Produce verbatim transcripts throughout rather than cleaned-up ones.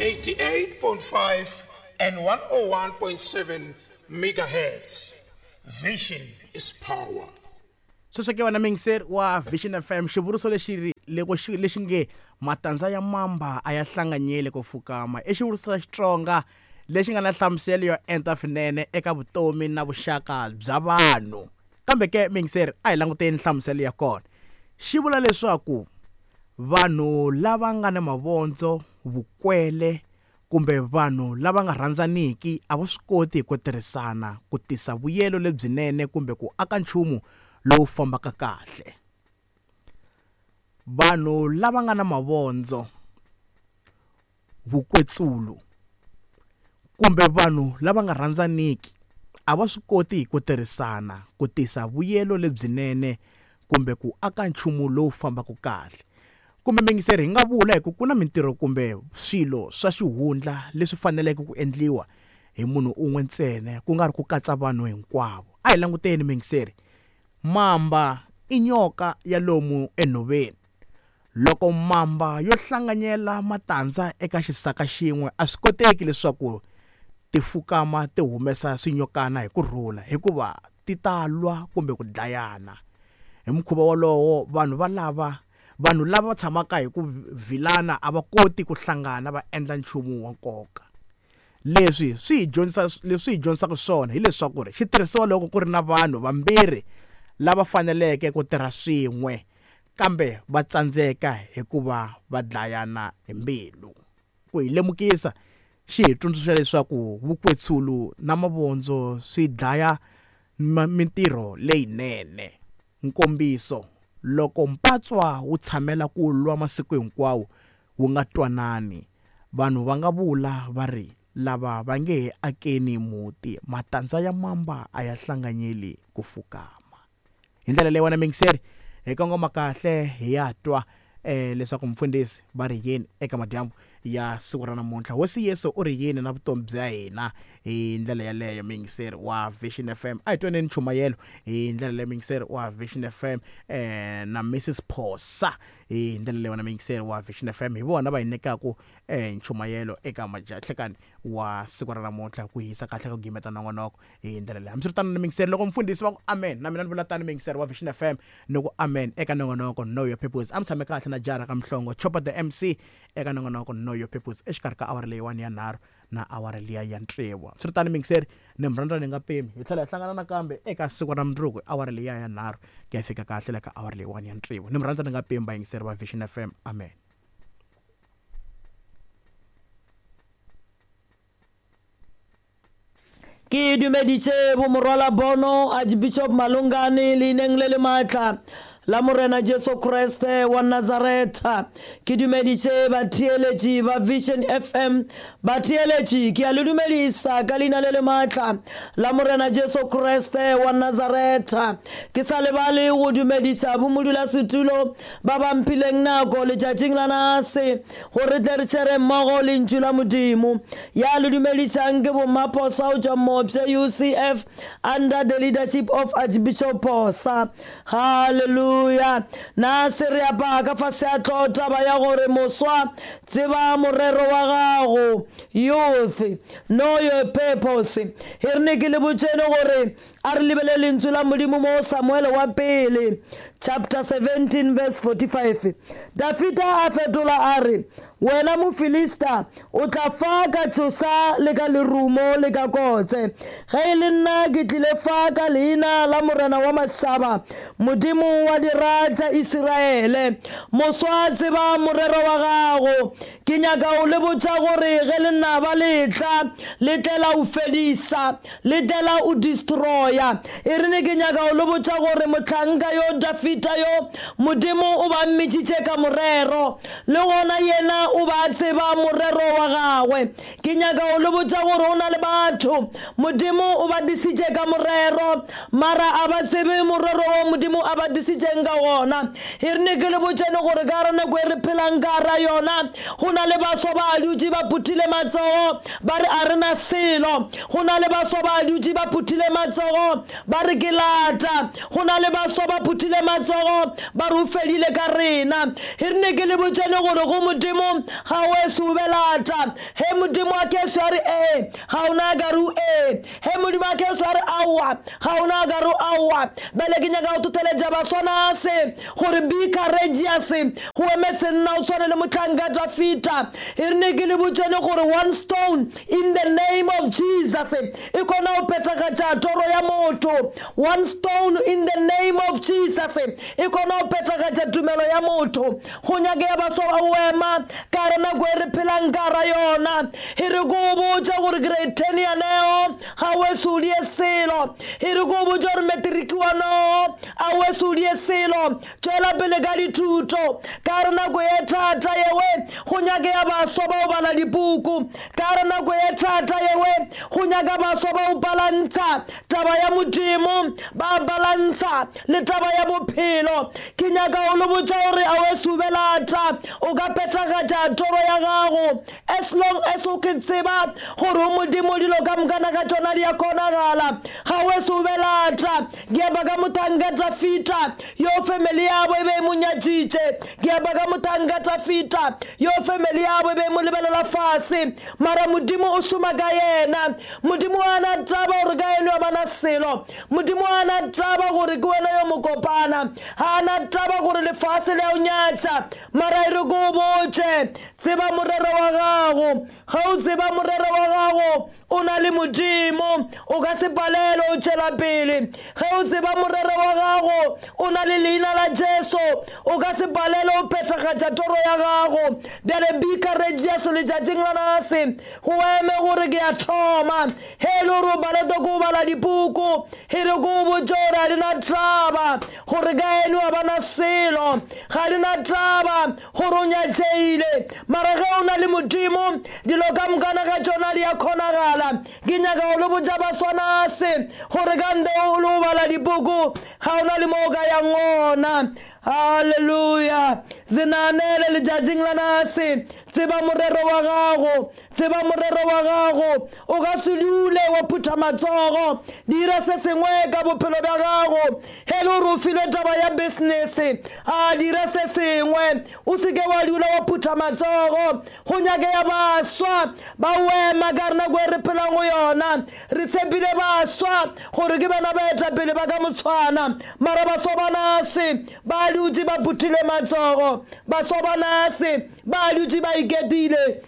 eighty-eight point five and one oh one point seven megahertz. Vision is power. Sweswo ke wena muyingiseri wa Vision F M, xivuriso lexi ri loko xi lexi nge matandza ya mamba a ya hlanganyeli ku fukama i xivuriso xa Xitsonga lexi nga na nhlamuselo yo enta swinene eka vutomi na vuxaka bya vanhu. Kambe ke muyingiseri, a hi languteni nhlamuselo ya kona. Xi vula leswaku vanhu lava nga na mavondzo, vukwele kumbe vanhu lava nga rhandzaniki a va swi koti ku tirhisana ku tisa vuyelo lebyinene kumbe ku aka nchumu lowu fambaka kahle. Vanhu lava nga na mavondzo, vukwetsulu kumbe vanhu lava nga rhandzaniki a va swi koti ku tirhisana ku tisa vuyelo lebyinene kumbe ku aka nchumu lowu fambaka kahle. Kumbe muyingiseri, hi nga vula hi ku ku na mintirho kumbe swilo swa xihundla leswi faneleke ku endliwa hi munhu un'we ntsena, ku nga ri ku katsa vanhu hinkwavo. A hi languteni muyingiseri, mamba i nyoka ya lomu enhoveni. Loko mamba yo hlanganyela matandza eka xisaka xin'we, a swi koteki leswaku ti fukama ti humesa swinyokana hi kurhula, hikuva ti ta lwa kumbe ku dlayana. Hi mukhuva wolowo, vanhu va lava vanhu lava tshamaka hi ku vilana a va koti ku hlangana va endla nchumu wa nkoka. Leswi swi hi dyondzisa, leswi hi dyondzisaka swona hileswaku ri xitirhisiwa loko ku ri na vanhu vambirhi lava faneleke ku tirha swin'we kambe va tsandzeka hikuva va dlayana hi mbilu. Ku hi lemukisa, xi hi tsundzuxa leswaku vukwetsulu na mavondzo swi dlaya mintirho leyinene. Nkombiso, loko mpatswa wu tshamela ku lwa masiku hinkwawo wu nga twanani, vanhu va nga vula va ri lava va nge he akeni muti, matandza ya mamba a ya hlanganyeli ku fukama. Hi ndlela leyi wena muyingiseri, hi kongoma kahle hi ya twa eh leswaku mfundhisi va ri yini eka madyambu ya siku ra namuntlha. Hosi Yesu u ri yini na vutomi bya hina hi ndlela yaleyo muyingiseri wa Vision F M. A hi twaneni nchumayelo hi ndlela leyo muyingiseri wa Vision F M eh na Missus Phosa hi ndlela leyo na muyingiseri wa Vision F M. Hi vona va hi nyikaka eh nchumayelo eka majahlekani wa siku ra namuntlha ku hisa kahle ku gimeta nongonoko hi ndlela leyo. Hambiswiritano na muyingiseri, loko mfundhisi va ku amen, na mina ni vula tani muyingiseri wa Vision F M ni ku amen eka nongonoko Know Your Purpose. A mi tshame kahle na Jara ka Mhlongo, Chopper the M C eka nongonoko Know Your Purpose exikarhi ka awara leyiwani ya nharhu na awara liya ya tsevu. Hambiswiritano muyingiseri, ni murhandza ni nga pimi, hi tlhela hi hlangana nakambe eka siku ra mundzuku awara liya ya nharhu ku ya fika kahle le ka awara leyiwani ya tsevu. Ni murhandza ni nga pimi, vayingiseri va Vision F M. Amen. Ke dumedise bo morwala bono Archbishop Malungane leineng le le maatla la Morena Jesu Kriste wa Nazaretha. Ke dumedise batheeletši ba Vision F M. Batheeletši, ke a le dumedisa ka leina le le maatla la Morena Jesu Kriste wa Nazaretha. Ke sa lebale go dumedisa bo modulasetulo ba ba mphileng nako letšatšing la nase gore tle re shere mmogo lentšu la Modimo. Ya le dumedisang ke bo Maphosa o tšwa Mopse U C F under the leadership of Archbishop Phosa. Hallelujah. Na se re apaa ka fase a tlo taba ya gore moswa tseba morero wa gago. Youth, know your purpose. E re ne ke le botšene gore a re lebele lentswe la Modimo mo Samuel wa pele chapter seventeen verse forty-five. Dafida a fetola a re, wena Mofilista, o tla fa ka tšoša le ka lerumo le ka kotse. Ge e le nna ke tlile fa ka leina la Morena wa mašaba, Modimo wa dira tša Isiraele. Moswa tseba morero wa gago. Ke nyaka o le botša gore ge lenaba le tla, le tlela o fedisa, le tlela o destroya. E re ne ke nyaka o le botša gore mohlanka yo Dafida yo Modimo o ba mmitšitše ka morero, le gona yena o ba tseba morero wa gagwe. Ke nyaka o le botša gore o na le batho Modimo o ba disitše ka morero, mara a ba tsebe morero wo Modimo a ba disitšeng ka gona. E re ne ke le botšene gore ka gare nako e re phelang ka gara yona, go na le baswa ba dutše ba phuthile matsogo ba re a re na selo. Go na le baswa ba dutše ba phuthile matsogo ba re ke lata. Go na le baswa ba phuthile matsogo ba re o fedile ka rena. E re ne ke le botšene gore go Modimo ga Ga o ese o belata. He Modimo a ke so re e, ga ona ka re e. He Modimo a ke so re aowa, ga ona ka re aowa. Bele ke nyaka go toteletša baswana se gore be courageous, go eme senna o tshwane le mohlanka Dafita. E re ne ke le botšene gore one stone in the name of Jesus e kgona go phethagatša toro ya motho. One stone in the name of Jesus e kgona go phethagatša tumelo ya motho. Go nyakega baswa ba go ema ka re nako e re phelang ka ra yona. E re ko botša gore grade ten ya neo ga o ese o die selo. E re ko botša gore matric wa no a o ese o die selo. Tšwela pele ka dithuto ka re nako e thata yewe. Go nyakega baswa ba go bala dipuku ka re nako e thata yewe. Go nyaka baswa ba go balantsha taba ya Modimo, ba balantsha le taba ya bophelo. Ke nyaka go le botša gore a o ese o belata, o ka phethagatša toro ya gago as long as o ke tseba gore o Modimo dilo ka mokana ka tšona di a kgonagala. Ga o ese o belata. Ke apa ka mohlanka Dafita yo family yabo e be e mo nyatšitše. Ke apa ka mohlanka Dafita yo family yabo e be e mo lebelela fase, mara Modimo o šoma ka yena. Modimo a na taba gore ka eno a bana selo. Modimo a na taba gore ke wena yo mokopana. Ga na taba gore lefase le a o nyatša, mara e re ko botše tseba morero wa gago. Ga o tseba morero wa gago o na le Modimo, o ka se palelwe o tšwela pele. Ge o tseba morero wa gago o na le leina la Jesu, o ka se palelwe o phethagatša toro ya gago. Bjale be courageous letšatšing la nase, go eme gore ke a thoma. He e le gore o palelwe ke go bala dipuku, e re ko botše gore ga di na taba gore ka eno a bana selo, ga di na taba gore o nyatšeile, mara ge o na le Modimo dilo ka mokana ka tšona di a kgonagala. Ke nyaka go le botša baswana se gore ka nde o le go bala dipuku ga o na le mo o ka yang gona. Haleluya. Zinanele letšatšing la nase, tseba morero wa gago, tseba morero wa gago. O ka se dule wa phutha matsogo, dira se sengwe ka bophelo bja gago. He le gore o filwe taba ya business, a dira se sengwe, o seke wa dula wa phutha matsogo. Go nyakega baswa ba wema ka re nako e re phelang go yona. Re tshepile baswa gore ke bana baetapele ba ka motshwana, mara baswa ba nase ba dutse ba phuthile matsogo. Baswa ba nase ba dutse ba iketile,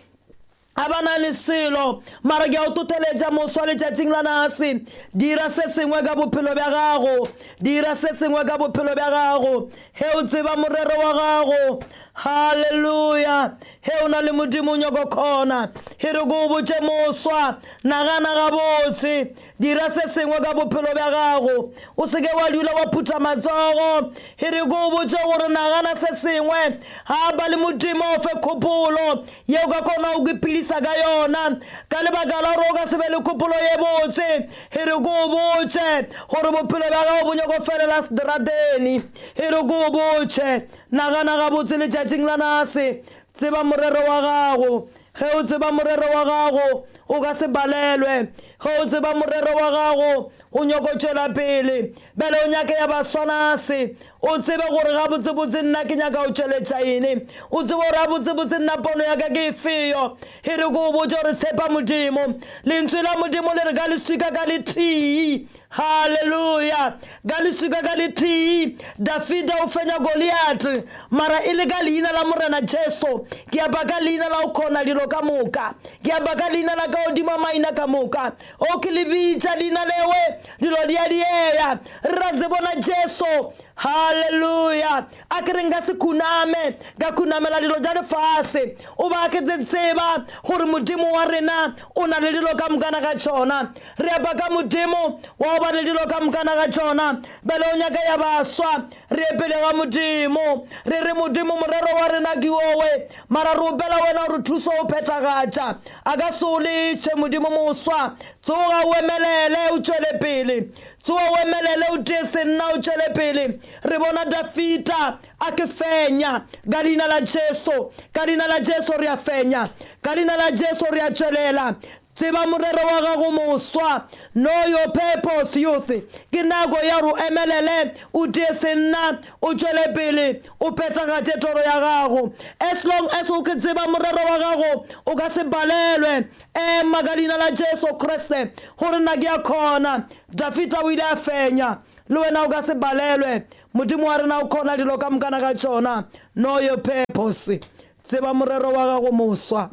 a ba na le selo. Mara ke a o toteletša moswa letšatšing la nase, dira se sengwe ka bophelo bja gago, dira se sengwe ka bophelo bja gago. He o tseba morero wa gago, haleluya. He o na le Modimo o nyako kgona. He re ko botše moswa, nagana gabotse, dira se sengwe ka bophelo bja gago, o seke wa dula wa phutha matsogo. He re ko botše gore nagana se sengwe, ga ba le Modimo o fe kgopolo ye o ka kgona go iphedisa ka yona, ka lebaka la gore o ka se be le kgopolo ye botse. He re ko botše gore bophelo bja gago bo nyako felela seterateni. He re ko botše, nagana gabotse letšatšing la nase, tseba morero wa gago. Ge o tseba morero wa gago o ka se balelwe. Ge o tseba morero wa gago o nyako tšwela pele. Bjale o nyake ya baswanase, o tsebe gore gabotsebotse nna ke nyaka go tšweletša eng, o tsebe gore gabotsebotse nna pono ya ka ke efeyo. E re ko botše gore tshepa Modimo. Lentswe la Modimo le re ka leswika ka letee. Haleluya. Ka leswika ka letee Dafida o fenya Goliath, mara e le ka leina la Morena Jesu. Ke apa ka leina la o kgona dilo ka moka, ke apa ka leina la ka godimo maina ka moka. O ke le bitša leina lewe, dilo di a dieya. Re ra tsebona Jesu. Haleluya. A ke re nka se khuname, ka khunamela dilo tša lefase. O ba ke tseba gore Modimo wa rena o na le dilo ka mokana ga tšona. Re apa ka Modimo wa ba le dilo ka mokana ga tšona. Bjale o nyaka ya baswa, re epele ga Modimo. Re re Modimo morero wa rena ke owe, mara re opela wena gore thuso o phethagatša. A ka se o letšhe Modimo moswa. Tsoga o emelele o tšwele pele, tsoga o emelele o tie senna o tšwele pele. Re bona Dafita a ke fenya ka leina la Jesu, ka leina la Jesu re a fenya, ka leina la Jesu re a tšwelela. Tseba morero wa gago moswa. Know your purpose, youth. Ke nako ya gore o emelele, o tie senna, o tšwele pele, o phethagatše toro ya gago. As long as o ke tseba morero wa gago, o ka se palelwe. Ema ka leina la Jesu Kriste gore nna ke a kgona. Dafita o ile a fenya, le wena o ka se palelwe. Modimo wa rena o kgona dilo ka mokana ga tšona. Know your purpose. Tseba morero wa gago moswa.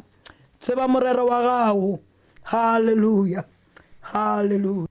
Tseba morero wa gago. Hallelujah. Hallelujah.